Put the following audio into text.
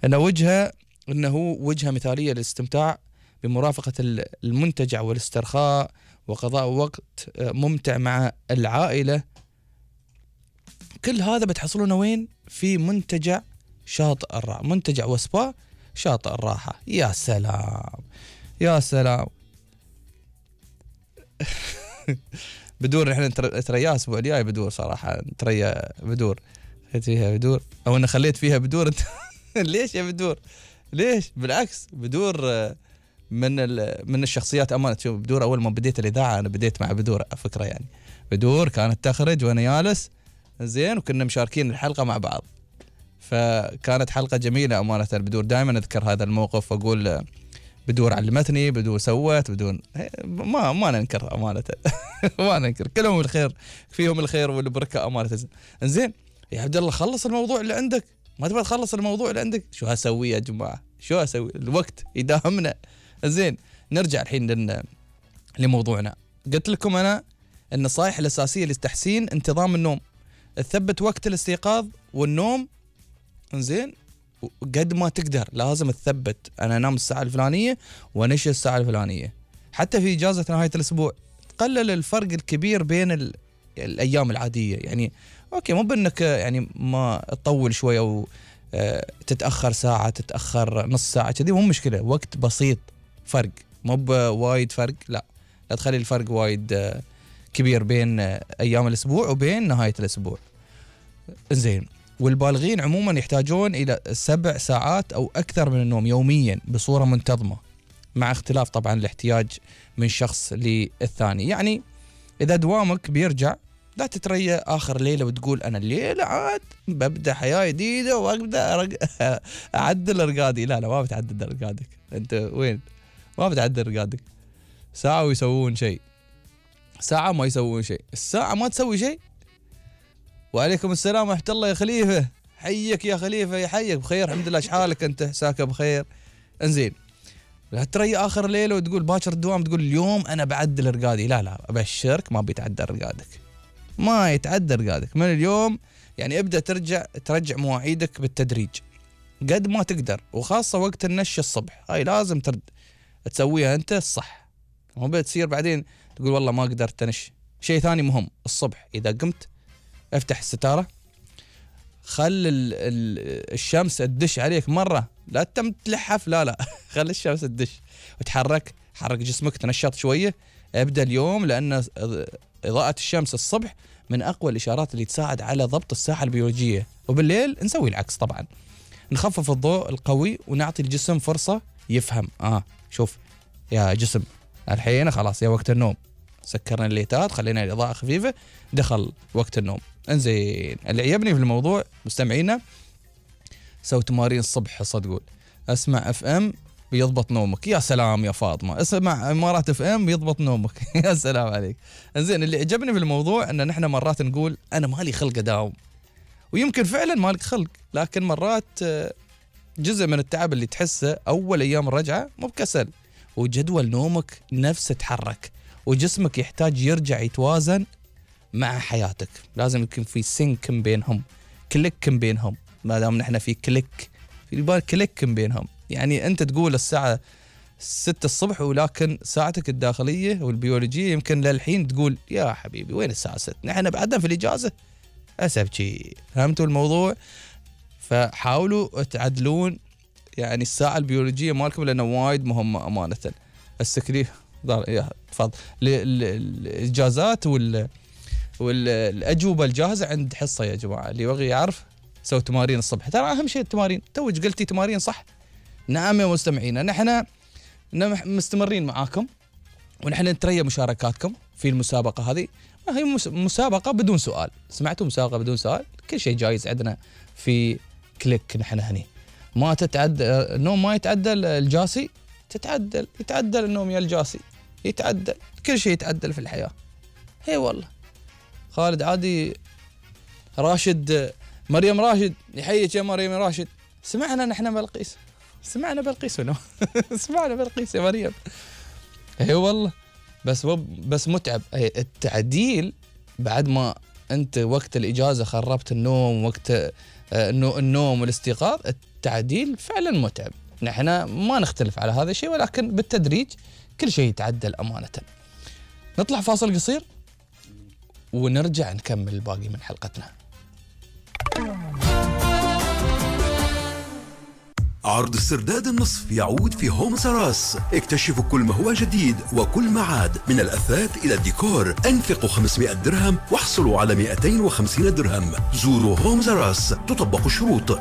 انه وجهة مثالية للاستمتاع بمرافقة المنتجع والاسترخاء وقضاء وقت ممتع مع العائلة. كل هذا بتحصلونه وين؟ في منتجع شاطئ الراحة، منتجع وسبا شاطئ الراحة. يا سلام يا سلام. بدور احنا تريا الاسبوع الجاي بدور صراحة، تريا بدور فيها بدور او انا خليت فيها بدور. ليش يا بدور؟ ليش؟ بالعكس بدور من الشخصيات امانه. شوف بدور اول ما بديت الاذاعه انا بديت مع بدور على فكره، يعني بدور كانت تخرج وانا جالس زين وكنا مشاركين الحلقه مع بعض، فكانت حلقه جميله امانه. بدور دائما اذكر هذا الموقف واقول بدور علمتني، بدور سوت، بدون ما ننكر امانه. ما ننكر، كلهم الخير فيهم الخير والبركه امانه. زين يا عبد الله خلص الموضوع اللي عندك، ما تبغى تخلص الموضوع اللي عندك؟ شو هسوي يا جماعه؟ شو هسوي؟ الوقت يداهمنا. زين نرجع الحين لموضوعنا. قلت لكم انا النصائح الاساسيه لتحسين انتظام النوم: تثبت وقت الاستيقاظ والنوم. زين قد ما تقدر لازم تثبت، انا انام الساعه الفلانيه وانشئ الساعه الفلانيه. حتى في اجازه نهايه الاسبوع تقلل الفرق الكبير بين الايام العاديه. يعني اوكي مو بانك يعني ما تطول شويه او تتاخر ساعه تتاخر نص ساعه كذي، مو مشكله، وقت بسيط فرق، مو بوايد فرق، لا تخلي الفرق وايد كبير بين ايام الاسبوع وبين نهايه الاسبوع. زين والبالغين عموما يحتاجون الى 7 ساعات او اكثر من النوم يوميا بصوره منتظمه، مع اختلاف طبعا الاحتياج من شخص للثاني. يعني اذا دوامك بيرجع لا تتريى اخر ليله وتقول انا الليله عاد ببدا حياه جديده وابدا اعدل ارقادي. لا ما بتعدل ارقادك، انت وين؟ ما بتعدل ارقادك. ساعه ويسوون شيء، ساعه ما يسوون شيء، الساعه ما تسوي شيء. وعليكم السلام ورحمه الله يا خليفه، حيك يا خليفه، يحيك بخير الحمد لله، شحالك انت؟ عساك بخير. انزين لا تري اخر ليله وتقول باكر الدوام تقول اليوم انا بعدل ارقادي. لا ابشرك ما بيتعدل ارقادك، ما يتعدل ارقادك من اليوم. يعني ابدا ترجع مواعيدك بالتدريج قد ما تقدر، وخاصه وقت النش الصبح هاي لازم تسويها انت الصح، مو بتصير بعدين تقول والله ما قدرت انش. شيء ثاني مهم الصبح اذا قمت افتح الستاره، خل الشمس تدش عليك مره، لا تم تلحف، لا خلي الشمس تدش وتحرك، حرك جسمك تنشط شويه. ابدا اليوم، لان اضاءه الشمس الصبح من اقوى الاشارات اللي تساعد على ضبط الساعه البيولوجيه. وبالليل نسوي العكس طبعا، نخفف الضوء القوي ونعطي الجسم فرصه يفهم. شوف يا جسم الحين خلاص يا وقت النوم، سكرنا الليتات خلينا الاضاءه خفيفه، دخل وقت النوم. انزين اللي عجبني في الموضوع مستمعينا سوي تمارين الصبح، صدقون اسمع اف ام بيضبط نومك. يا سلام يا فاطمه، اسمع امارات اف ام بيضبط نومك. يا سلام عليك. انزين اللي عجبني في الموضوع ان نحن مرات نقول انا مالي خلق اداوم، ويمكن فعلا مالك خلق، لكن مرات جزء من التعب اللي تحسه اول ايام الرجعه مو بكسل، وجدول نومك نفسه تحرك، وجسمك يحتاج يرجع يتوازن مع حياتك. لازم يكون في سينك بينهم، كليك بينهم. ما دام نحن في كليك، في بالك كليك بينهم، يعني انت تقول الساعه 6 الصبح ولكن ساعتك الداخليه والبيولوجيه يمكن للحين تقول يا حبيبي وين الساعه 6، نحن بعدنا في الاجازه. اسبتي فهمتوا الموضوع؟ فحاولوا تعدلون يعني الساعه البيولوجيه مالكم لانه وايد مهمه امانه. السكري تفضل الاجازات والاجوبه الجاهزه عند حصه يا جماعه، اللي يبغى يعرف سوي تمارين الصبح، ترى اهم شيء التمارين. توج قلتي تمارين صح. نعم يا مستمعينا، نحن مستمرين معاكم ونحن نتريى مشاركاتكم في المسابقه هذه. هي مسابقه بدون سؤال، سمعتوا؟ مسابقه بدون سؤال، كل شيء جايز عندنا في كليك. نحن هني ما تتعدل النوم، ما يتعدل الجاسي، يتعدل النوم يا الجاسي، يتعدل كل شيء، يتعدل في الحياه. هي والله خالد عادي، راشد، مريم راشد، يحييك يا مريم راشد. سمعنا نحن بلقيس، سمعنا بلقيس سمعنا بلقيس يا مريم. هي والله بس متعب التعديل بعد ما انت وقت الاجازه خربت النوم، وقت انه النوم والاستيقاظ، التعديل فعلا متعب. نحن ما نختلف على هذا الشيء، ولكن بالتدريج كل شيء يتعدل أمانة. نطلع فاصل قصير ونرجع نكمل الباقي من حلقتنا. عرض السرداد النصف يعود في هوم سراس. اكتشفوا كل ما هو جديد وكل ما عاد، من الأثاث إلى الديكور. انفقوا 500 درهم واحصلوا على 250 درهم. زوروا هوم سراس، تطبق الشروط.